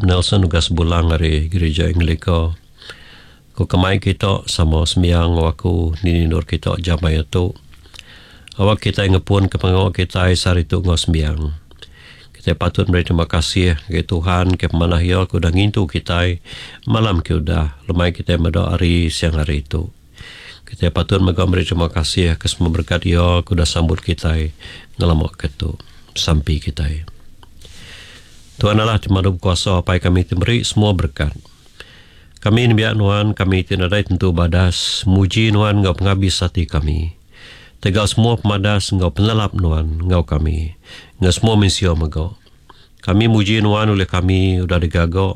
Nelson Ugas Bulang ari Gerija Anglika. Ku kemai kita sama sembiang enggau aku dini endur kita jam maya tu. Awak kitai ngepun ke pengawa kitai sehari tu enggau sembiang. Kitai patut meri terima kasih ngagai Tuhan ke pemanah Iya ke udah ngintu kitai malam ke udah lemai kitai meda hari siang hari tu. Kitai patut mega meri terima kasih ke semua berekat Iya ke udah sambut kitai ngelama ke tu. Sampi kitai. Tuhan Allah ti Pemadu Bekuasa Apai kami ti meri semua berekat. Kami nembiak Nuan, kami ti nadai tentu badas, muji Nuan enggau pengabis ati kami. Tegal semua pemadas enggau penelap Nuan enggau kami, enggau semua mensia mega. Kami muji Nuan ulih kami udah digaga,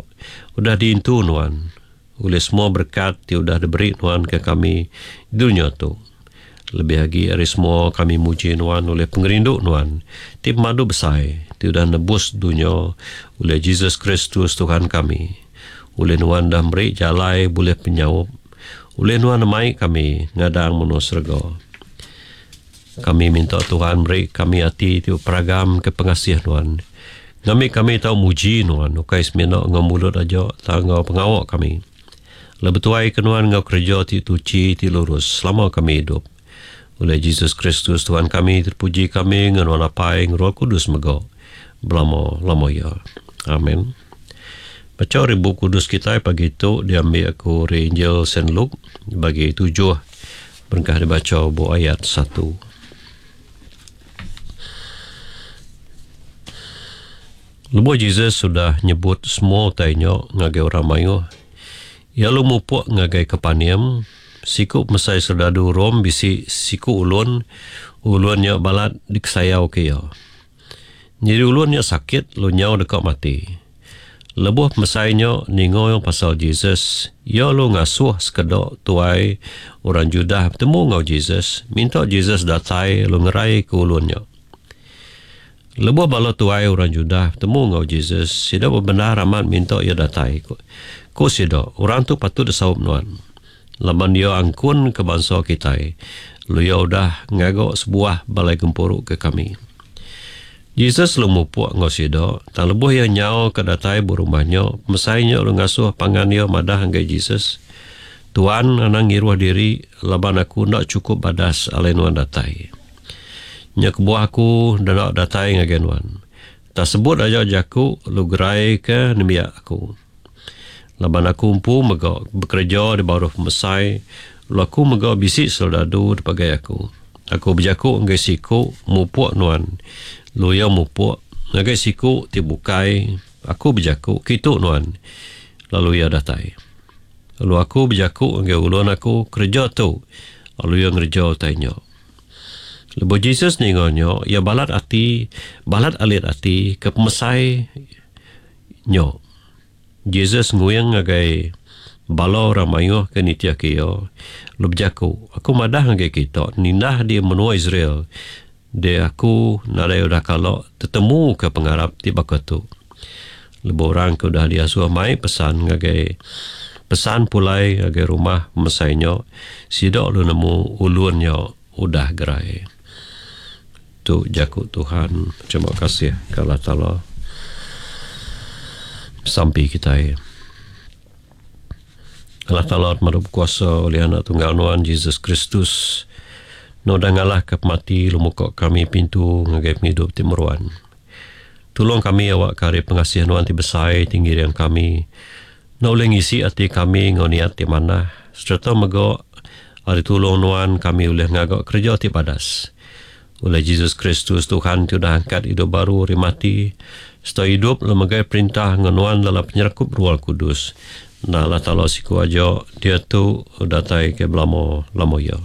udah diintu Nuan, ulih semua berekat ti udah diberi Nuan ke kami di dunya tu. Lebih agi ari semua kami muji Nuan ulih pengerindu Nuan ti pemadu besai ti udah nebus dunya ulih Jesus Kristus Tuhan kami. Ulih Nuan udah meri jalai bulih penyaup. Ulih Nuan nemai kami ngadang menua serega. Kami minta Tuhan meri kami ati ti beperagam ke pengasih Nuan. Ngambi kami tau muji Nuan ukai semina enggau mulut aja tang enggau pengawa kami. Lalu betuai ke nuan enggau kereja ti tuchi ti lurus selama kami idup. Ulih Jesus Kristus Tuhan kami ti dipuji kami enggau nuan Apai enggau Roh Kudus mega belama lama iya. Amen. Bacha ari Bup Kudus kitai pagi tu diambi aku ari Injil Saint Luke bagi tujuh berengkah dibacha ba ayat satu. Lebuh Jesus udah nyebut semua utai nya ngagai orang mayuh, iya lalu mupuk ngagai Kapernaum. Siku pemesai soldadu Rome bisi siku ulun, ulun nya balat dikesayauka iya. Nyadi ulun nya sakit lalu nyau deka mati. Lebuh pemesai nya ninga pasal Jesus, iya lalu ngasuh sekeda tuai orang Judah betemu enggau Jesus, minta Jesus datai lalu ngeraika ulun nya. Lebuh bala tuai orang Judah betemu enggau Jesus, sida bebendar amat minta iya datai. Ku sida, Orang tu patut disaup nuan, laban iya angkunka bansa kitai, lalu iya udah ngaga sebuah balai gempuru ke kami. Jesus lalu mupuk enggau sida, tang lebuh iya nyauka datai ba rumah nya, pemesai nya lalu ngasuh pangan iya madah ngagai Jesus, Tuan, anang ngiruh diri, laban aku enda chukup badas alai nuan datai. Nya kebuah aku deka datai ngagai nuan. Tak sebut aja jaku lalu geraika nembiak aku. Laban aku empu mega bekereja di baruh pemesai lalu aku mega bisi soldadu dipegai aku. Aku bejaku ngagai siku mupuk nuan lalu iya mupuk, ngagai siku ti bukai aku bejaku kitu nuan lalu iya datai. Lalu aku bejaku ngagai ulun aku kereja tu lalu iya ngereja utai nya. Lebuh Jesus ninga nya, iya balat ati, balat alit ati ke pemesai nya. Jesus nguing ngagai bala orang mayuh ke nitihka iya, lalu bejaku, Aku madah ngagai kita, nindah di menua Israel, deh aku nadai udah kala tetemuka pengarap ti baka tu. Lebuh orang ke udah diasuh mai pesan ngagai pesan pulai ngagai rumah pemesai nya, sida lalu nemu ulun nya udah gerai. Tu jaku Tuhan. Terima kasih ke Allah Taala. Sampi kitai. Allah Taala Pemadu Bekuasa ulih Anak Tunggal Nuan Jesus Kristus, Nuan udah ngalahka pemati lalu muka kami pintu ngagai pengidup ti meruan. Tulung kami awakka ari pengasih Nuan ti besai ti ngiring kami enda ulih ngisi ati kami enggau niat ti manah sereta mega ari tulung Nuan kami ulih ngaga kereja ti badas. Ulih Jesus Kristus Tuhan ti udah angkat idup baru ari mati sereta idup lalu megai perintah enggau Nuan dalam penyerakup Ruah Kudus enda Allah Taala siku aja diatu datai ke belama lama iya.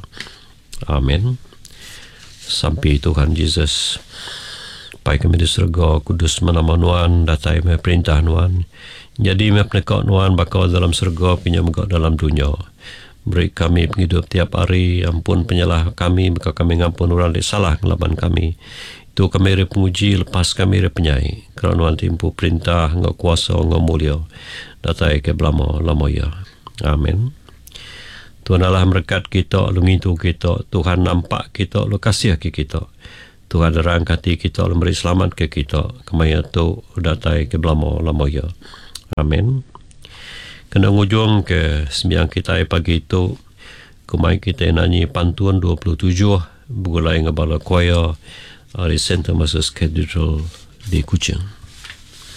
Amen. Sampi Tuhan Jesus. Pai kami di serega, kudus meh nama Nuan, datai meh perintah Nuan. Nyadi meh peneka Nuan baka dalam serega pinya mega dalam dunya. Beri kami pengidup tiap hari, ampun penyalah kami baka kami ngampun orang ti salah ngelaban kami. Itu kami ari penguji, lepas kami ari penyai. Kera Nuan ti empu perintah enggau kuasa enggau mulia datai ke belama lama iya. Amen. Tuhan Allah merekat kita lalu ngintu kita. Tuhan nampak kita lalu kasih ke kita. Tuhan nerang ke ati kita lalu meri selamat ke kita. Kemaya tu datai ke belama lama iya. Amen. Kena ngujung ke sembiang kitai pagi tu, ku mai kitai nanyi pantun 27 begulai enggau bala choir ari Saint Thomas's Cathedral di Kuching.